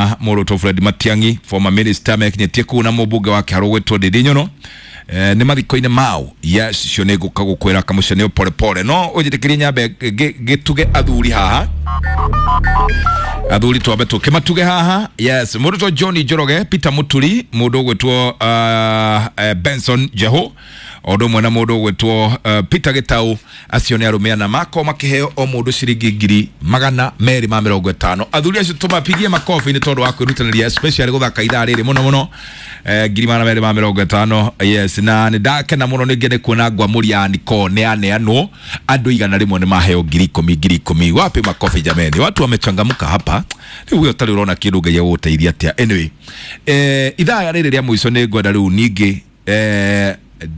na mũrũtwo Fred Matiang'i, former minister, mekinyĩtie kũu na mũmbunge wa Kĩharũ gwĩtwo Ndindi Nyoro. Nĩ mathiko-inĩ mao. Yes, cio nĩ ngũka gũkwĩra kamũcemanio pole pole, no ũnjĩtĩkĩrie nyambe ngĩtuge athuri haha, athuri twambe tũkĩmatuge haha. Yes, mũndũ John Njoroge, Peter Muturi, mũndũ ũgwĩtwo Benson Jeho, o ũndũ ũmwe na mũndũ ũgwĩtwo Peter Gĩtaũ. Acio nĩ arũme ana makorwo makĩheo o mũndũ ciringi 250,000. Athuri acio tũmapigie makobi nĩ tondũ wa kwĩrutanĩria, especially gũthaka ithaa rĩrĩ mũno mũno. 250,000. Yes, na nĩ ndakena mũno ningĩ nĩ kuona ngwamũri ya Niko nĩ yaneanwo, andũ 100 nĩ maheo 10,000 10,000. Wapi makobi jameni? Watu wamechangamka hapa. Rĩu we ũtarĩ ũrona kĩndũ, Ngai agũgũteithia atĩa? Anyway, ithaa rĩrĩ rĩa mũico nĩ ngwenda rĩu ningĩ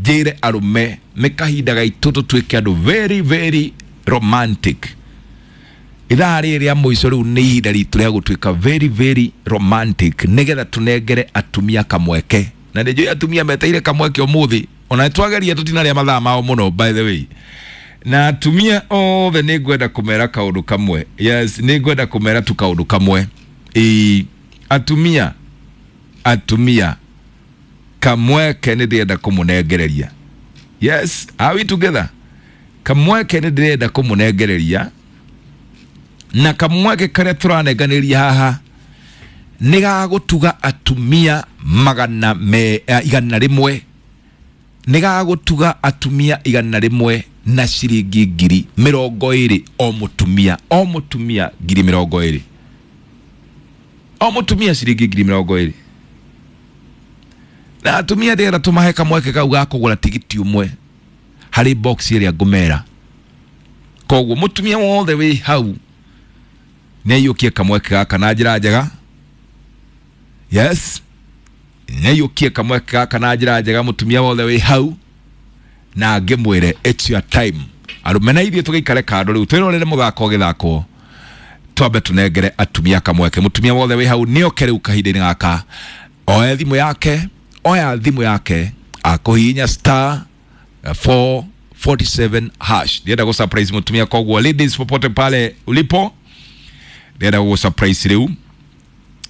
njĩre arũme nĩ kahinda gaitũ tũtuĩke andũ very very romantic. Ithaa rĩrĩ rĩa mũico rĩu nĩ ihinda ritũ rĩa gũtuĩka very very romantic, nĩgetha tũnengere atumia kamweke, na nĩ njũĩ atumia meteire kamweke ũmũthĩ, ona nĩtwageria tũtinarĩa mathaa mao mũno, by the way. Na atumia othe nĩ ngwenda kũmera kaũndũ kamwe. Yes, nĩ ngwenda kũmera tu kaũndũ kamwe. Ĩĩ, atumia, atumia, kamweke nĩ ndĩrenda kũmũnengereria. Yes, are we together? Kamweke nĩ ndĩrenda kũmũnengereria, na kamweke karĩa tũranenganĩria haha nĩ gagũtuga atumia magana me 100, nĩ gagũtuga atumia 100 na ciringi 20,000 o mũtumia, o mũtumia 20,000, o mũtumia ciringi 20,000. Na atumia ndĩrenda tũmahe kamweke kau ga kũgũra tigiti ũmwe harĩ box ĩrĩa ngũmera. Koguo mũtumia wothe wĩ hau nĩ aiyũkie kamweke gaka na njĩra njega. Yes, nĩ aiyũkie kamweke gaka na njĩra njega, mũtumia wothe wĩ hau, na ngĩmwĩre it's your time. Arũme na ithuĩ tũgĩikare kando rĩu twĩrorere mũthako ũgĩthakwo, twambe tũnengere atumia kamweke. Mũtumia wothe wĩ hau nĩoke rĩu kahinda-inĩ gaka, oe thimũ yake, oya thimũ yake, akũhihinya star 447 hash. Ndĩrenda gũ surprise mũtumia, koguo ladies, popote pale ulipo, ndĩrenda gũ surprise rĩu,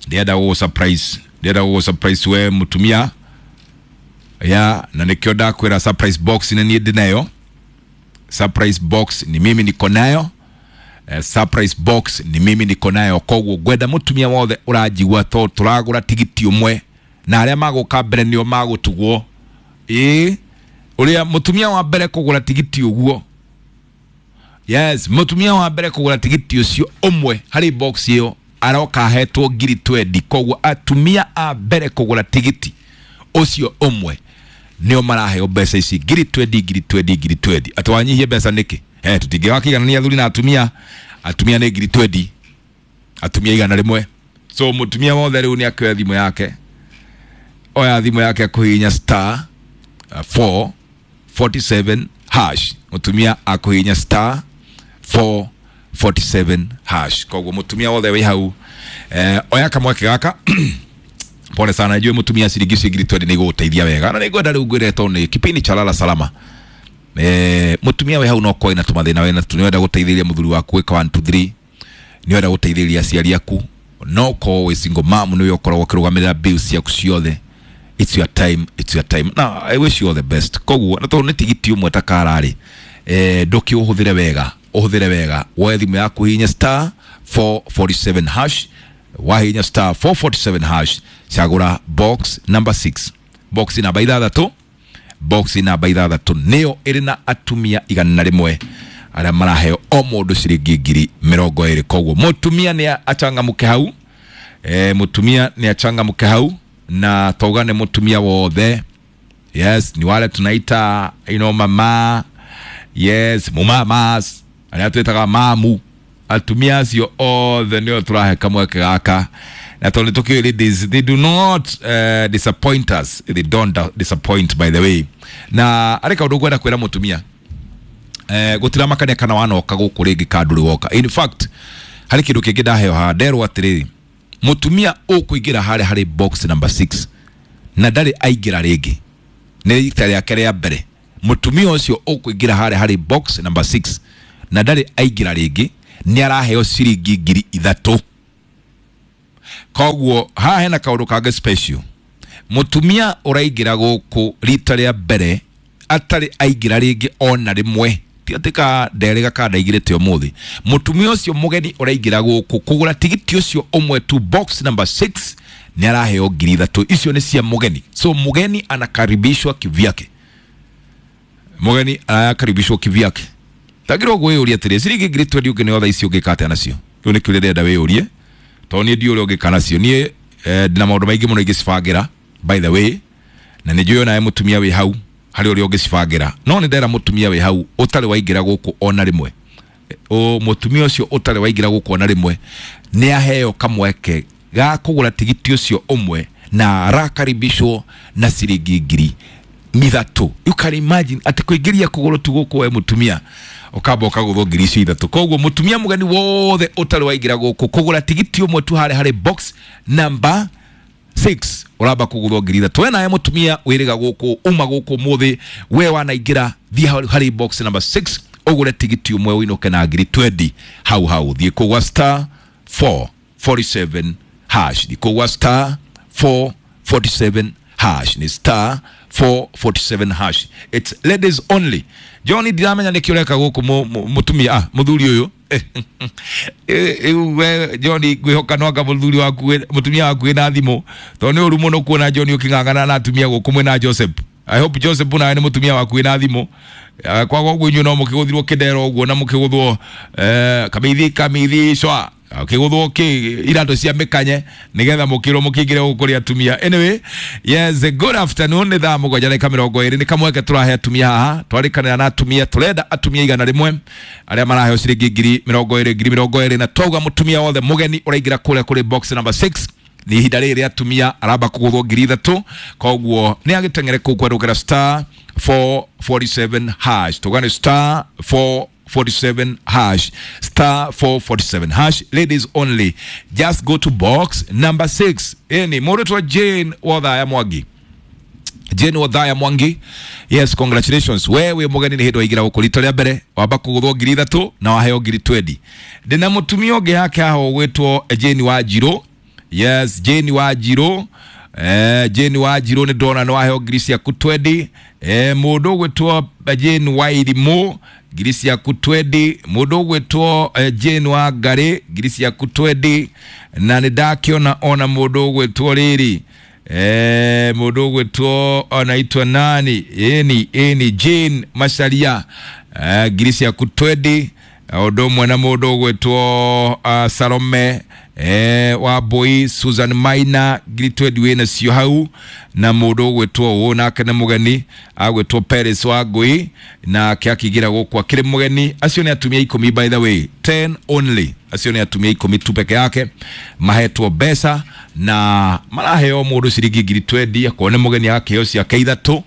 ndĩrenda gũ surprise, ndĩrenda gũ surprise we mũtumia ya, na nĩkĩo ndakwĩra surprise box nĩ niĩ ndĩnayo. Surprise box ni mimi niko nayo. Surprise box ni mimi niko nayo. Koguo ngwenda mũtumia wothe ũranjigua, to tũragũra tigiti ũmwe na arĩa magũka mbere nĩo magũtugwo. Ĩĩ, ũrĩa mũtumia wa mbere kũgũra tigiti ũguo, yes, mũtumia wa mbere kũgũra tigiti ũcio ũmwe harĩ box ĩyo aroka ahetwo 20,000. Koguo atumia a mbere kũgũra tigiti ũcio ũmwe nĩo maraheo mbeca ici 20,000, 20,000, 20,000. Atĩ wanyihie mbeca nĩkĩ? Tũtingĩgakĩiganania athuri na atumia. Atumia nĩ 20,000, atumia 100. So mũtumia wothe rĩu nĩ akĩoya thimũ yake, oya thimũ yake akũhihinya star 447 hash. Mũtumia akũhihinya star 447 hash. Koguo mũtumia wothe wĩ hau, oya kamweke gaka. Pole sana, najua mũtumia ciringi icio 20,000 nĩ igũgũteithia wega, na nĩngwenda rĩu ngwĩre tondũ nĩ kipindi cha lala salama. Mũtumia wĩ hau no korwo ena tũmathĩna wĩna tu, nĩwenda gũteithĩrĩria mũthuri waku gwĩka 1 2 3, nĩwenda gũteithĩrĩria aciari aku, no korwo wĩ single mom, nĩwe ũkoragwo ũkĩrũgamĩrĩra bills ciaku ciothe. It's your time, it's your time. Now I wish you all the best. Koguo na tondũ nĩ tigiti ũmwe ta kararĩ, ndũkĩũhũthĩre wega, ũhũthĩre wega. Woe thimũ yaku, hihinya star 447 hash. Wahihinya star 447 hash, cagũra box number 6, box namba 6, box namba 6 nĩyo ĩrĩ na atumia 100 arĩa maraheo o mũndũ ciringi 20,000. Koguo mũtumia nĩ achangamũke hau, mũtumia nĩ achangamũke hau, na twauga nĩ mũtumia wothe. Yes, ni wale tunaita mama, yes, mumamas, arĩa twĩtaga mamu. Atumia acio othe nĩo tũrahe kamweke gaka, na tondũ nĩ tũkĩũĩ ladies, they do not disappoint us, they don't disappoint, by the way. Na arĩ kaũndũ ngwenda kwĩra mũtumia, gũtiramakania kana wanoka gũkũ rĩngĩ ka ndũrĩ woka. In fact, harĩ kĩndũ kĩngĩ ndaheo haha, nderwo atĩrĩrĩ, mũtumia ũkũingĩra harĩa harĩ box number 6 na ndarĩ aingĩra rĩngĩ, nĩ rita rĩake rĩa mbere, mũtumia ũcio ũkũingĩra harĩa harĩ box number 6 na ndarĩ aingĩra rĩngĩ nĩ araheo ciringi 3,000. Koguo haha hena kaũndũ kangĩ special. Mũtumia ũraingĩra gũkũ rita rĩa mbere atarĩ aingĩra rĩngĩ ona rĩmwe, ti atĩ ka nderĩga ka ndaingĩrĩte ũmũthĩ. Mũtumia ũcio mũgeni ũraingĩra gũkũ kũgũra tigiti ũcio ũmwe tu box number 6 nĩ araheo 3,000. Icio nĩ cia mũgeni. So mũgeni anakaribishwa kivyake, mũgeni arakaribishwa kivyake. Tagirwo gwĩyũria atĩrĩ, ciringi 20,000 ũngĩneo thaa ici ũngĩka atĩa nacio? Kĩu nĩ kĩũria ndĩrenda wĩyũrie, tondũ niĩ ndiũĩ ũrĩa ũngĩka nacio. Niĩ ndĩna maũndũ maingĩ mũno ingĩcibangĩra, by the way, na nĩ njũĩ onawe mũtumia wĩ hau harĩ ũrĩa ũngĩcibangĩra, no nĩ ndera mũtumia wĩ hau ũtarĩ waingĩra gũkũ ona rĩmwe, o mũtumia ũcio ũtarĩ waingĩra gũkũ ona rĩmwe nĩ aheo kamweke ga kũgũra tigiti ũcio ũmwe na arakaribishwo na ciringi 3,000. You can imagine atĩ kũingĩria kũgũrũ tu gũkũ we mũtumia ũkamba ũkagũthwo 3,000. Koguo mũtumia mũgeni wothe ũtarĩ waingĩra gũkũ kũgũra tigiti ũmwe tu harĩa harĩ box number 6 ũramba kũgũthwo 3,000. We nawe mũtumia wĩrĩga gũkũ, uma gũkũ ũmũthĩ, we wanaingĩra, thiĩ harĩ box number 6 ũgũre tigiti ũmwe ũinũke na 20,000 hau hau. Thiĩ kũgwa star 447 hash, thiĩ kũgwa star 447 hash, ni star 447 hash. It's ladies only. John, ndiramenya nĩkĩ ũreka gũkũ mũtumia mũthuri ũyũ. We John, ngwĩhoka no anga mũthuri waku mũtumia waku wĩna thimũ, tondũ nĩ ũru mũno kuona John ũkĩng'ang'ana na atumia gũkũ mwĩna Joseph. I hope Joseph nawe nĩ mũtumia waku wĩna thimũ. Kwaga ũguo inyuĩ no mũkĩgũthirwo kĩndero ũguo na mũkĩgũthwo kamithi kamithi cwa kĩgũthwo kĩ iratũ cia mĩkanye nĩgetha mũkĩrwo mũkĩingĩre gũkũ kũrĩ atumia. Anyway, yes, good afternoon. Nĩ thaa 7:20. Nĩ kamweke tũrahe atumia haha, twarĩkanĩra na atumia, tũrenda atumia 100 arĩa maraheo ciringi 20,000 20,000, na twauga mũtumia wothe mũgeni ũraingĩra kũrĩa kũrĩ box number 6 nĩ ihinda rĩrĩ rĩa atumia aramba kũgũthwo 3,000. Koguo nĩ agĩteng'ere kũu kwerũkĩra star 447 hash. Tũgane star 447 hash, star 447 hash, ladies only. Just go to box number 6. Eni mũndũ Jane Wathaya Mwangi, Jane Wathaya Mwangi, yes, congratulations. Wewe mũgeni nĩ hĩndĩ waingĩra gũkũ rita rĩa mbere, wamba kũgũthwo 3,000 na waheo 20,000. Ndĩna mũtumia ũngĩ yake haha ũgwĩtwo Jane Wanjirũ. Yes, Jane Wanjirũ, Jane Wanjirũ nĩ ndona nĩ waheo 20,000. Mũndũ ũgwĩtwo Jane Wairimũ 20,000. Mũndũ ũgwĩtwo Jane Wangari 20,000. Na nĩ ndakĩona ona mũndũ ũgwĩtwo rĩrĩ, mũndũ ũgwĩtwo anaitwa nani, ĩni Jane Macharia 20,000. Ũndũ ũmwe na mũndũ ũgwĩtwo Salome Wambui, Susan Maina 20,000 wĩna cio hau, na mũndũ ũgwĩtwo ũũ nake nĩ mũgeni agwĩtwo Paris Wangui, nake akĩingĩra gũkũ akĩrĩ mũgeni. Acio nĩ atumia 10 by the way, 10 only. Acio nĩ atumia 10 tu peke yake mahetwo mbeca na maraheo mũndũ ciringi 20,000, akorwo nĩ mũgeni agakĩheo ciake 3,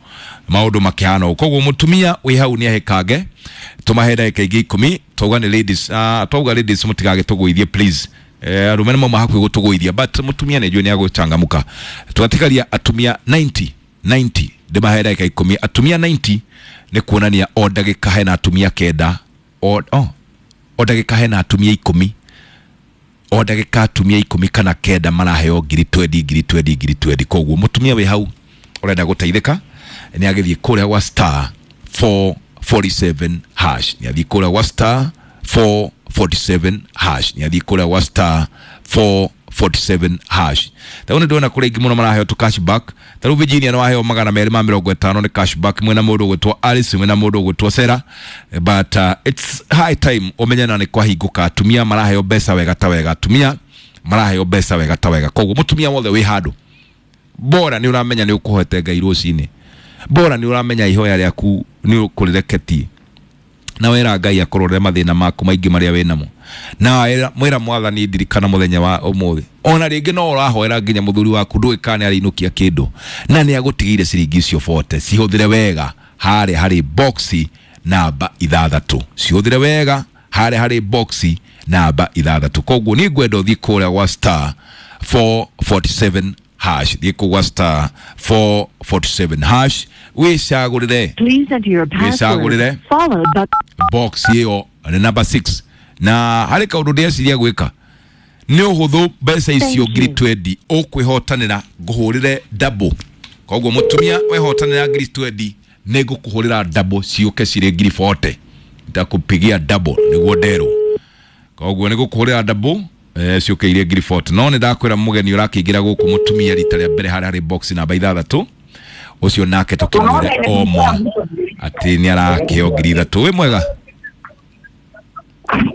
maũndũ makĩhana ũũ. Koguo mũtumia wĩ hau nĩ ahĩkange, tũmahe ndagĩka ingĩ 10. Twauga nĩ ladies, twauga ladies mũtigagĩtũgũithie please. Arũme nĩ mauma hakuhĩ gũtũgũithia, but mũtumia nĩ njũĩ nĩ agũchangamũka. Tũgatigaria atumia 90 90, ndĩmahe ndagĩka 10. Atumia 90 nĩ kuonania o ndagĩka hena atumia 9, o ndagĩka hena atumia 10, o ndagĩka atumia 10 kana 9 maraheo 20,000 20,000 20,000. Koguo mũtumia wĩ hau ũrenda gũteithĩka nĩ agĩthiĩ kũrĩa gwa star 447 hash, nĩ athiĩ kũrĩa gwa star 447 hash, nĩ athiĩ kũrĩa gwa star 447 hash. Tarĩu nĩ ndĩrona kũrĩ aingĩ mũno maraheo tu cashback. Tarĩu Virginia nĩ waheo 250 nĩ cashback, mwĩna mũndũ ũgwĩtwo Alice, mwĩna mũndũ ũgwĩtwo Sarah, but it's high time ũmenye na nĩ kwahingũka. Atumia maraheo mbeca wega ta wega, atumia maraheo mbeca wega ta wega. Koguo mũtumia wothe wĩ handũ bora nĩ ũramenya nĩ ũkũhoete Ngai rũcinĩ, bora nĩ ũramenya ihoya rĩaku nĩ ũkũrĩreketie, na wera Ngai akũrorere mathĩna maku maingĩ marĩa wĩnamo, na mwĩra mwathani ndirikana mũthenya wa ũmũthĩ. Ona rĩngĩ no ũrahoera nginya mũthuri waku ndũĩ kana nĩ arĩinũkia kĩndũ, na nĩ agũtigĩire ciringi icio 40. Cihũthĩre wega harĩa harĩ boxi namba 6, cihũthĩre wega harĩa harĩ boxi namba 6. Koguo nĩ ngwenda ũthiĩ kũrĩa gwa star 447 hash, thiĩ kũu gwa star 447 hash wĩcagũrĩre. Please enter your password followed by box ĩyo nĩ number 6. Na harĩ kaũndũ ndĩreciria gwĩka, Nĩ ũhũthũ mbeca icio Thank ngiri you. 20 ũkwĩhotanĩra ngũhũrĩre double. Koguo mũtumia wehotanĩra ngiri 20 nĩ ngũkũhũrĩra double ciũke cirĩ ngiri 40. Nitakupigia double nĩguo nderwo. Koguo nĩ ngũkũhũrĩra double ciũke irĩ ngiri 40. No nĩ ndakwĩra mũgeni ũrakĩingĩra gũkũ mũtumia rita rĩa mbere harĩa harĩ box namba 6 ũcio nake tũkĩmwĩre oma atĩ nĩ arakĩheo ngiri 3. Wĩ mwega?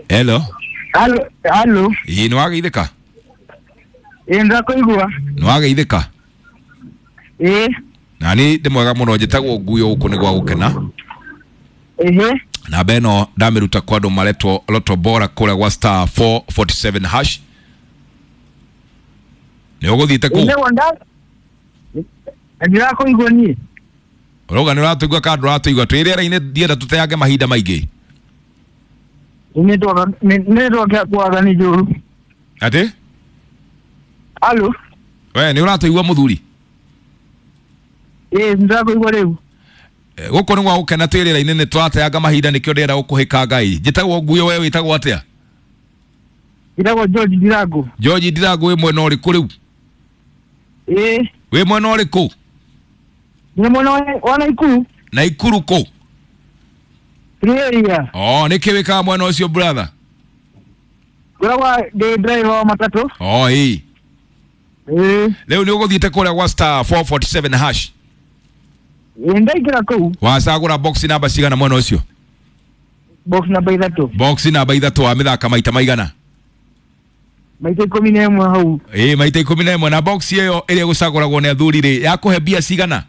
Hello. Halo, halo. Ĩĩ nĩ wageithĩka? Ĩ ndakuigua. Nĩ wageithĩka? Ĩ Na niĩ ndĩ mwega mũno, njĩtagwo Nguyo, gũkũ nĩ gwa gũkena. Ehe. Namba ĩno ndamĩruta kwa andũ maretwo Lotto Bora kũrĩa gwa star 447 hash. Nĩ ũgũthiĩte kũu? Ĩ wonda. Ndirakuigua niĩ. Ũrauga nĩ ũratũigua kana ndũratũigua? Twĩ rĩera-inĩ, ndienda tũteange mahinda maingĩ. Network yakwaga nĩ njũru. Atĩ? Halo. We nĩ ũratũigua mũthuri? Ĩ ndirakuigua rĩu. Gũkũ nĩ gwa gũkena, twĩ rĩera-inĩ, nĩ tũrateanga mahinda nĩkĩo ndĩrenda gũkũhĩka Ngai. Njĩtagwo Nguyo, we wĩtagwo atĩa? Njĩtagwo George Ndirangu. George Ndirangu, wĩ mwena ũrĩkũ rĩu? Ĩ Wĩ mwena ũrĩkũ? Ndĩ mwena wa Naikuru. Naikuru kũ? Free area. Oh, nĩkĩ wĩkaga mwena ũcio brother? Ngoragwo ndĩ driver wa matatũ. Oh, ĩĩ. Ĩ Rĩu nĩ ũgũthiĩte kũrĩa gwa star 447 hash? Ĩ ndaingĩra kũu. Wacagũra box namba cigana mwena ũcio? Box namba 3. Box namba 3, wa mĩthaka maita maigana? Maita 11 hau. Ĩĩ, maita 11. Na box ĩyo ĩrĩa ĩgũcagũragwo nĩ athuri rĩ, yakũhe mbia cigana?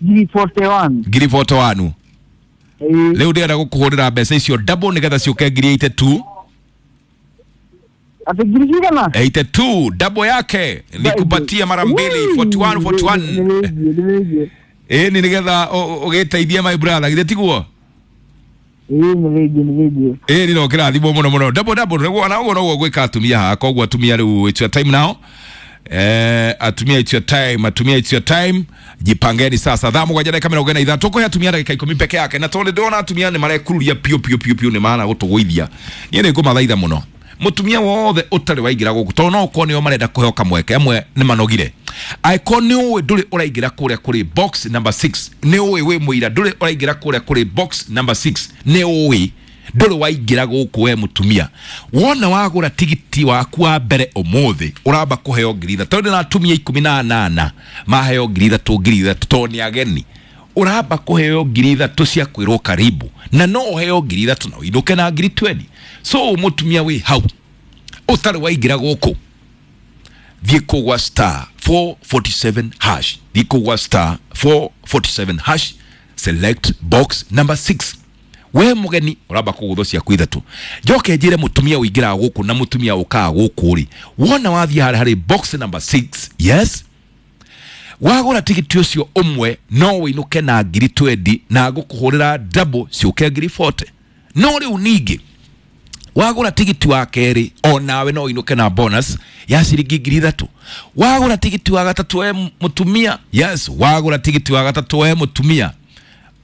Ngiri 41. Ngiri 41. Ĩ Rĩu ndĩrenda gũkũhũrĩra mbeca icio double nĩgetha ciũke ngiri 82. Atĩ ngiri cigana? 82 double yake nikupatie mara mbili, 41 41. 41. Ĩĩ nĩ nĩgetha ũgĩteithie my brother, githĩ tiguo? Ĩ nĩ rĩngĩ nĩ rĩngĩ. Ĩĩ nĩ kĩrathimwo mũno mũno, double double nĩguo na ũguo noguo gwĩka atumia haha. Koguo atumia rĩu, it's your time now. Atumia, it's your time. Atumia, it's your time, jipangeni sasa. Thaa 7 dakika 43, tũkũhe atumia ndagĩka 10 peke yake, na tondũ ndĩrona atumia nĩ marekururia piũ piũ piũ piũ, nĩ maana gũtũgũithia. Niĩ nĩ ngũmathaitha mũno, mũtumia wothe ũtarĩ waingĩra gũkũ, tondũ no ũkorwo nĩo marenda kũheo kamweke, amwe nĩ manogire. Angĩkorwo nĩ ũĩ ndũrĩ ũraingĩra kũrĩa kũrĩ box number 6, nĩ ũĩ wĩ mũira ndũrĩ ũraingĩra kũrĩa kũrĩ box number 6, nĩ ũĩ ndũrĩ waingĩra gũkũ, we mũtumia, wona wagũra tigiti waku wa mbere ũmũthĩ ũramba kũheo ngiri 3, tondũ na atumia 18 maheo ngiri 3 ngiri 3, tondũ nĩ ageni, ũramba kũheo ngiri 3 cia kwĩrwo karibu, na no ũheo ngiri 3 na ũinũke na ngiri 20. So mũtumia wĩ hau ũtarĩ waingĩra gũkũ, thiĩ kũgwa star 447 hash, thiĩ kũgwa star 447 hash, select box number 6. We mũgeni ũramba kũgũthwo ciaku 3. Njoke njĩre mũtumia ũingĩraga gũkũ na mũtumia ũkaga gũkũ rĩ, wona wathiĩ harĩa harĩ box number 6, yes, wagũra tigiti ũcio ũmwe no ũinũke na ngiri 20, na ngũkũhũrĩra double ciũke ngiri 40. No rĩu ningĩ wagũra tigiti wa kerĩ, o nawe no ũinũke na bonus ya ciringi ngiri 3. Wagũra tigiti wa gatatũ we mũtumia, yes, wagũra tigiti wa gatatũ we mũtumia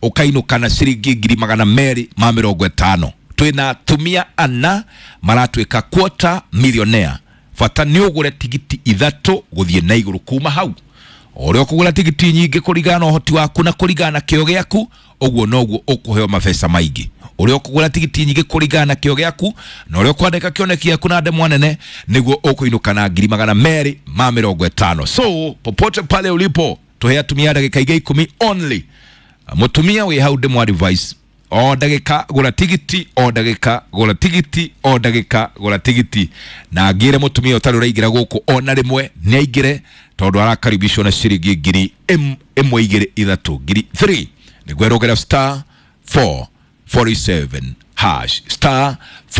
ũkainũka na ciringi ngiri 250. Twĩna atumia ana maratuĩka quarter millionaire. Bata nĩ ũgũre tigiti 3 gũthiĩ na igũrũ. Kuma hau, ũrĩa ũkũgũra tigiti nyingĩ kũringana na ũhoti waku na kũringana na kĩo gĩaku, ũguo noguo ũkũheo mabeca maingĩ. Ũrĩa ũkũgũra tigiti nyingĩ kũringana na kĩo gĩaku na ũrĩa ũkwandĩka kĩoneki gĩaku na ndemwa nene, nĩguo ũkũinũka na ngiri 250. So popote pale ulipo, tũhe atumia ndagĩka ingĩ 10 only. Mũtumia wĩ hau, ndĩmwa advice, o ndagĩka gũra tigiti, o ndagĩka gũra tigiti, o ndagĩka gũra tigiti. Na ngĩre mũtumia ũtarĩ ũraingĩra gũkũ ona rĩmwe nĩ aingĩre, tondũ arakaribishwo na ciringi ngiri 1 2 3, ngiri 3. Nĩguo ĩrũgĩra star 447 hash, star.